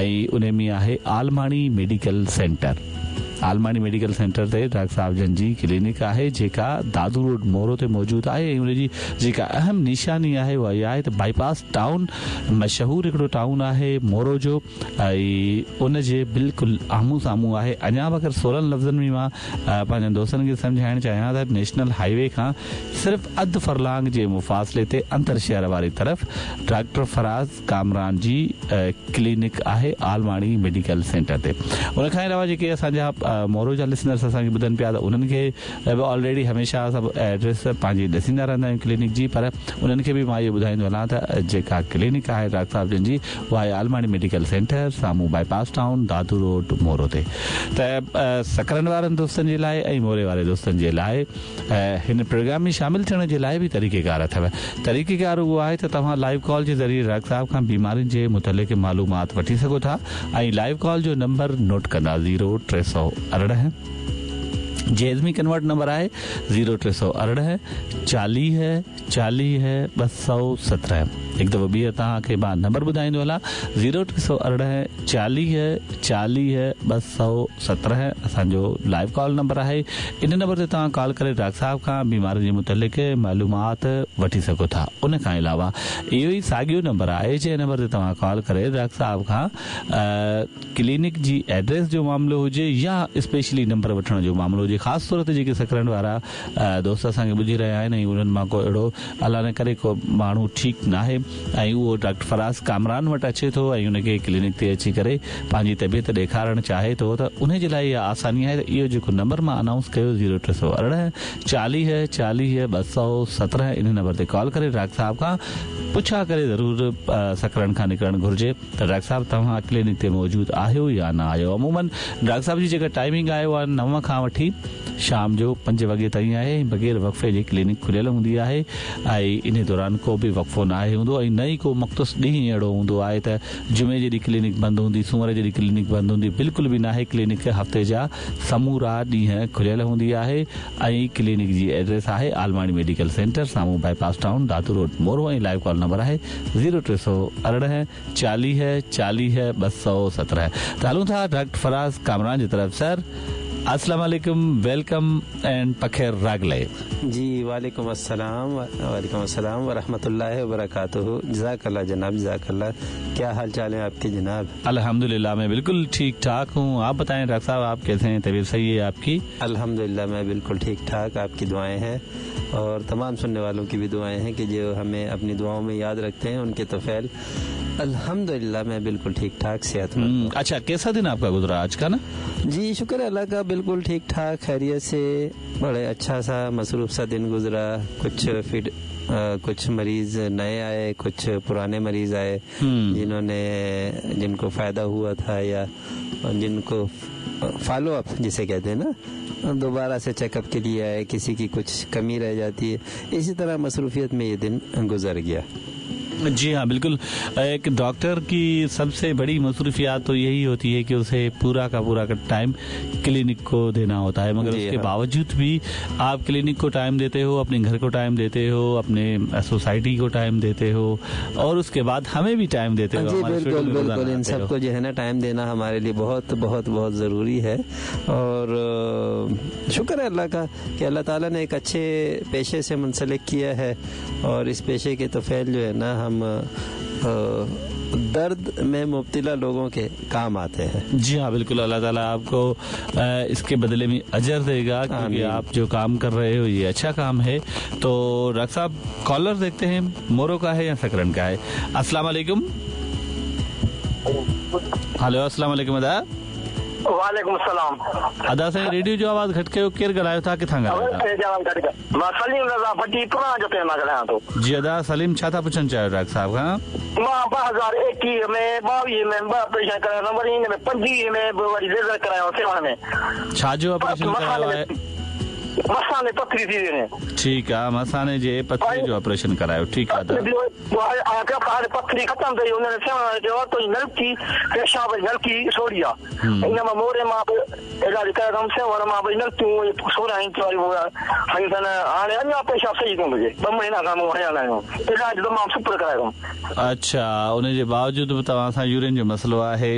۽ ان ۾ آهي Almani medical centre. Almani medical centre تي doctor صاحب جن جي ڪلينڪ آهي جيڪا دادو روڊ مورو تي موجود آهي ۽ ان جي جيڪا اهم نشاني آهي اها اها آهي ته بائي پاس ٽائون مشهور هڪڙو ٽائون آهي مورو جو ۽ ان جي بلڪل آمهون سامهون آهي اڃا به اگر سولن لفظن ۾ مان پنهنجن دوستن کي سمجهائڻ چاهيان ته نيشنل هائي وي کان صرف اڌ فرلانگ جي مفاصلي تي اندر شهر واري طرف ڊاڪٽر فراز ڪامران جي ڪلينڪ آهي عالماڻي ميڊيڪل سينٽر تي ان کان علاوه جيڪي اسان جا مورو جا لسنرس اسان کي ٻڌن پيا ته انهن کي به آلريڊي هميشه سڀ ايڊريس پنهنجي ڏسيندا رهندا آهيون ڪلينڪ جي پر انهن کي به مان اهو ٻڌائيندو هلان ته جيڪا ڪلينڪ آهي ڊاڪٽر صاحب جن جي اها آهي عالماڻي ميڊيڪل سينٽر سامهون bypass town Dadu road Moro تي ته سڪرنڊ وارن دوستن جي لاء ۽ موري واري دوستن جي لاء هن پروگرام ۾ شامل ٿيڻ جي لاء به طريقيڪار اٿو. طريقيڪار اهو آهي ته توهان لائيو ڪال جي ذريعي ڊاڪٽر صاحب کان بيمارين جي متعلق معلومات وٺي سگهو ٿا ۽ لائيو ڪال جو نمبر نوٽ ڪندا زيرو 318 جيزمي ڪنورٽ نمبر آهي زيرو 318 40 40 217 هڪ دفعو ٻيهر توهان کي مان نمبر ٻڌائيندو هلان زيرو 318 40 40 217 اسان جو لائيو ڪال نمبر آهي ان نمبر تي توهان ڪال ڪري ڊاڪٽر صاحب کان بيمارين جي متعلق معلومات وٺي سگهو ٿا ان کان علاوه اهو ئي ساڳيو نمبر آهي جنهن نمبر تي توهان ڪال ڪري ڊاڪٽر صاحب کان ڪلينڪ جي ايڊريس جو معاملو هجي يا اسپيشلي نمبر وٺڻ جو معاملو هجي خاص طور تي جيڪي سڪرنڊ وارا دوست اسان کي ٻڌي رهيا آهن ۽ انهن مان ڪو اهڙو الله نه ڪري ڪو ماڻهو ٺيڪ ناهي ۽ اهو ڊاڪٽر فراز ڪامران وٽ اچي ٿو ۽ ان کي ڪلينڪ تي اچي ڪري پنهنجي طبيعت ڏيکارڻ چاهي ٿو ته انهي جي لاء اها آساني آهي ته اهو جيڪو نمبر مان انائونس ڪيو زيرو 318 40 40 217 انهي نمبر تي ڪال ڪري ڊاڪٽر صاحب کان پڇا ڪري ضرور سڪرنڊ کان نڪرڻ گهرجي ته ڊاڪٽر صاحب توهان ڪلينڪ تي موجود آهيو يا نه آهيو عموماً ڊاڪٽر صاحب جي جيڪا ٽائمنگ آهي اها 9 کان وٺي شام جو 5 وڳي تائين آهي ۽ بغير وقفي جي ڪلينڪ کليل هوندي آهي ۽ انهي دوران ڪو به وقفو ناهي هوندو ۽ نه ئي ڪو مختص ڏينهن اهڙو هوندو آهي ته جمعي جي ڏينهن ڪلينڪ بند هوندي سومر جي ڏينهن ڪلينڪ بند هوندي بلڪل به ناهي ڪلينڪ هفتي جا سمورا ڏينهن کليل هوندي آهي ۽ ڪلينڪ جي ايڊريس آهي عالماڻي ميڊيڪل سينٽر سامهون bypass town Dadu road Moro ۽ live call number آهي زيرو 318 40 40 217 ته هلون ٿا ڊاڪٽر فراز ڪامران جي طرف سر السلام عليڪم welcome and پخير راغلي. جي وعليڪم السلام وعليڪم السلام ورحمة الله وبرڪاته جزاڪ الله جناب جزاڪ الله ڪيا حال چال هين آپ ڪي جناب. الحمدلله مين بلڪل ٺيڪ ٺاڪ هون آپ بتائين ڊاڪٽر صاحب آپ ڪيسي هين طبيعت صحيح هي آپ ڪي. الحمدلله مين بلڪل ٺيڪ ٺاڪ آپ ڪي دعائين هين اور تمام سنني والون ڪي بهي دعائين هين ڪي جو همين اپني دعائون مين ياد رکتي هين ان ڪي طفيل الحمدلله مين بلڪل ٺيڪ ٺاڪ صحت مند هون. اڇا ڪيسا دن آپ ڪا گذرا آج ڪا نه. جي شڪر هي الله ڪا بلڪل ٺيڪ ٺاڪ خيريت سي بڙي اڇا سا مصروف سا دن گذرا ڪڇ فيڊ ڪڇ مريض نئي آئي ڪڇ پراني مريض آئي جنهون ني جن ڪو فائده هوا ٿا يا جن ڪو فالو اپ جسي ڪهتي هين نا دوباره سي چيڪ اپ ڪي ليي آئي ڪسي ڪي ڪڇ ڪمي رهه جاتي هي اسي طرح مصروفيت مين يي دن گذر گيا. جي ها بلڪل ايڪ ڊاڪٽر ڪي سب سي بڙي مصروفيات تو يهي هوتي هي ڪي اسي پورا ڪا پورا ٽائيم ڪلينڪ ڪو دينا هوتا هي مگر اس ڪي باوجود ڀي آپ ڪلينڪ ڪو ٽائيم ديتي هو اپني گهر ڪو ٽائيم ديتي هو اپني سوسائٽي ڪو ٽائيم ديتي هو اور اس ڪي بعد همين ڀي ٽائيم ديتي هو جي بلڪل بلڪل ان سب ڪو جو هي نا ٽائيم دينا هماري لئي بهت بهت بهت ضروري هي اور شڪر هي الله ڪا ڪي الله تعالي ني ايڪ اڇي پيشي سي منسلڪ ڪيا هي اور اس پيشي ڪي طفيل جو هي نا هم درد مين مبتلا لوگون ڪي ڪام آتي هين. جي ها بلڪل الله تعالي آپ ڪو اس ڪي بدلي ۾ اجر the گا ڪيونڪه آپ جو ڪام ڪر رهي هو يي اڇا ڪام هي تو ڊاڪٽر صاحب ڪالر ديکتي هين مورو ڪا هي يا سڪرنڊ ڪا هي السلام عليڪم هلو السلام عليڪم ادا. وعليڪم السلام. ادا سائين ريڊيو جو آواز گهٽ ڪيو ڪير ڳالهايو ٿا ڪٿان ڳالهايو ٿا. ريڊيو جو آواز گهٽ ڪيو مان سليم رضا ڀٽي پراڻا جتوئي مان ڳالهايان ٿو. جي ادا سليم ڇا ٿا پڇڻ چاهيو ڊاڪٽر صاحب کان. مان 2021 ۾ 22 ۾ ٻه آپريشن ڪرايا هئم وري ان ۾ 25 ۾ به وري ليزر ڪرايو سيوهڻ ۾. ڇا جو آپريشن ڪرايو آهي. مثاني پٿري ٿي وئي. ٺيڪ آ مثاني جي پٿري جو آپريشن ڪرايو ٺيڪ آ ادا. هاڻي پٿري ختم ٿي وئي انهن سيوهڻ وارن چيو تنهنجي نلڪي پيشاب جي نلڪي سوڙهي آ ان مان موري مان به علاج ڪرايو اٿم سيوهڻ مان به نلڪيون سوڙهيون واريون هنيون اٿن هاڻي اڃا پيشاب صحيح ڪونه ٿو ٿئي ٻه مهينا کان مون هنيل آهيون علاج تمام سپر ڪرايو اٿم. اڇا ان جي باوجود به توهان سان يورين جو مسئلو آهي.